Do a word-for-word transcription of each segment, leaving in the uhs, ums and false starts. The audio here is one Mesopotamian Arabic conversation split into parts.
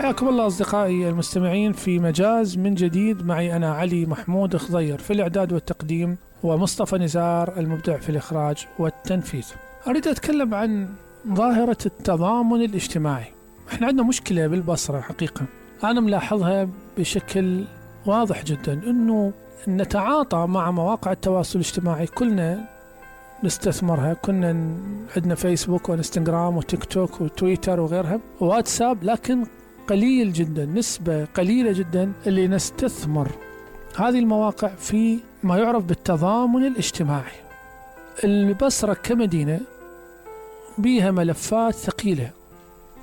حياكم الله أصدقائي المستمعين في مجاز من جديد. معي أنا علي محمود خضير في الإعداد والتقديم، ومصطفى نزار المبدع في الإخراج والتنفيذ. أريد أتكلم عن ظاهرة التضامن الاجتماعي. إحنا عندنا مشكلة بالبصرة حقيقة أنا ملاحظها بشكل واضح جدا، أنه نتعاطى مع مواقع التواصل الاجتماعي، كلنا نستثمرها، كنا عندنا فيسبوك وانستغرام وتيك توك وتويتر وغيرها وواتساب، لكن قليل جدا، نسبة قليلة جدا اللي نستثمر هذه المواقع في ما يعرف بالتضامن الاجتماعي. البصرة كمدينة بيها ملفات ثقيلة.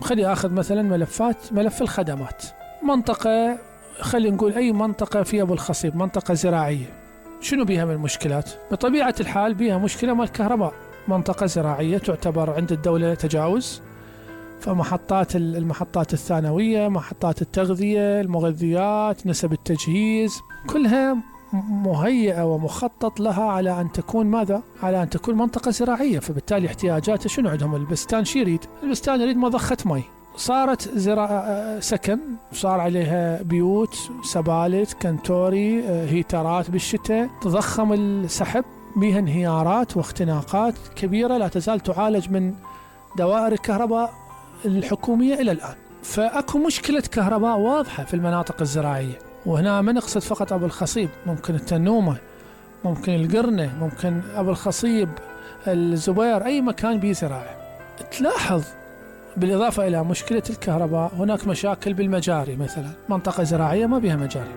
خلي أخذ مثلا ملفات ملف الخدمات. منطقة، خلي نقول أي منطقة في أبو الخصيب، منطقة زراعية، شنو بيها من مشكلات؟ بطبيعة الحال بيها مشكلة مال الكهرباء. منطقة زراعية تعتبر عند الدولة تجاوز، فمحطات المحطات الثانوية، محطات التغذية، المغذيات، نسب التجهيز، كلها مهيئة ومخطط لها على أن تكون ماذا؟ على أن تكون منطقة زراعية. فبالتالي احتياجاته شنو عندهم؟ البستان شي يريد؟ البستان يريد مضخة مي. صارت زراعة سكن، صار عليها بيوت، سبالت، كنتوري، هيترات بالشتاء، تضخم السحب، بها انهيارات واختناقات كبيرة لا تزال تعالج من دوائر الكهرباء الحكومية إلى الآن. فأكو مشكلة كهرباء واضحة في المناطق الزراعية، وهنا ما نقصد فقط أبو الخصيب، ممكن التنومة، ممكن القرنة، ممكن أبو الخصيب، الزبير، أي مكان بيه زراعة. تلاحظ بالإضافة إلى مشكلة الكهرباء هناك مشاكل بالمجاري. مثلا منطقة زراعية ما بها مجاري،